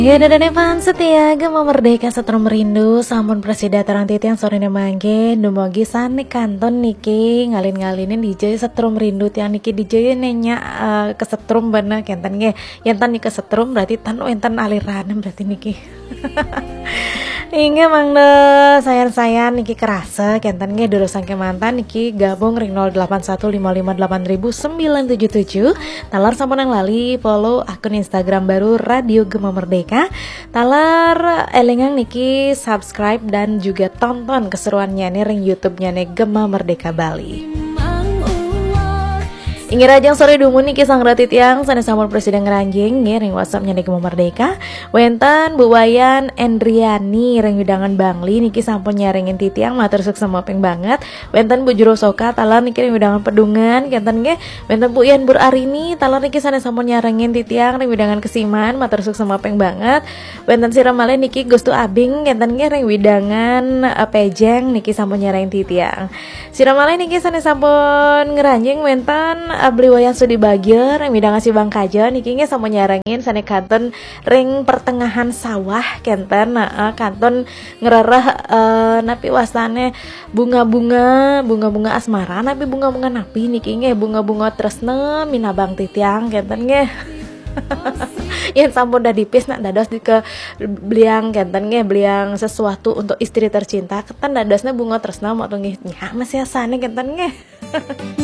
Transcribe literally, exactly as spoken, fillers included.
Ya, dadane fans setia Gema Merdeka Setrum Rindu, sampun prasida tarang titiang sorene mangke, dumugi sane kantun niki ngalin-ngalinin D J Setrum Rindu tiang niki D J nenya, eh, kesetrum bana kenten nggih. Yen tan niki kesetrum berarti tan wenten alirane berarti niki. Inggih mangda sayan-sayan niki kerasa kenten nggih durusang kemantan niki gabung ring nol delapan satu lima lima delapan ribu sembilan tujuh tujuh. Taler sampun lali follow akun Instagram baru Radio Gema Merdeka. Taler elingang niki subscribe dan juga tonton keseruannya nih ring YouTube-nya nih Gema Merdeka Bali. Inggih rahajeng sore dumun niki sang rati tiang sane sampun prasida ngranjing nggih ring WhatsApp-nya niki Gema Merdeka. Wenten Bu Wayan Endriani ring wewidangan Bangli niki sampun nyarengin titiang matur suksma ping banget. Wenten Bu Jero Soka taler niki ring wewidangan Pedungan kenten nggih. Wenten Bu Yan Bur Arini taler niki sane sampun nyarengin titiang ring wewidangan Kesiman matur suksma ping banget. Wenten sira malih niki Gustu Abing kenten nggih ring wewidangan, eh, Pejeng niki sampun nyarengin titiang. Sira malih niki sane sampun ngranjing wenten, eh, Bli Wayan Sudi Bagja ring wewidangan Sibang Kaja niki nggih sampun nyarengin sane kantun ring pertengahan sawah kenten, heeh, kantun ngrereh, eh, napi wastane bunga-bunga, bunga-bunga asmara napi bunga-bunga napi niki nggih, bunga-bunga tresna minabang titiang kenten nggih. Yen sampun dah dipis nak dados dike beliang kenten nggih, beliang sesuatu untuk istri tercinta, kenten dadosne bunga tresna mok nggih. Nya masih asane kenten nggih.